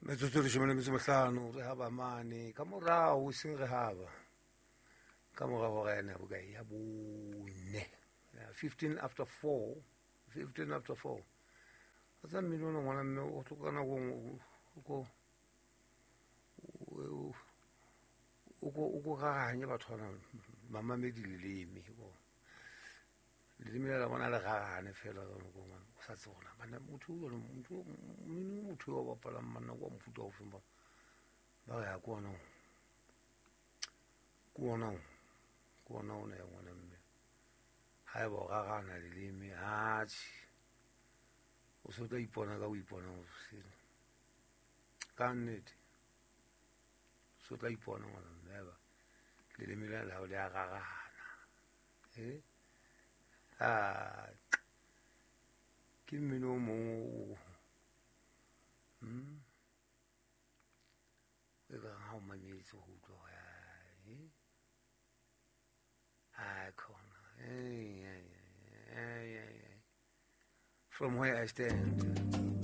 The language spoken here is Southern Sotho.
Metsotso 15 re haba mane ka morao, seng re haba ka morao hora ena bokae ya 4, 15 after 4, 15 after 4. A tsa mmino ona ngwana mme o tlo ka nako o ko rarahanye batho bana mamamedi leleme, leleme la bona le rarahane fela ka nako ngwana o sa tsebe hore bana motho mmino motho wa bapalang manna kwa mofuta o feng, ba re ya ke ona ya ngwana mme ha eba o rarahana leleme atjhe o se o tla ipona ka o ipona o sele ka nnete, so tla ipona ngwana mme eba leleme la hao le a rarahana. Ke mmino o mong o e kareng ha o mametse ho utlwa hore khona. From where I stand.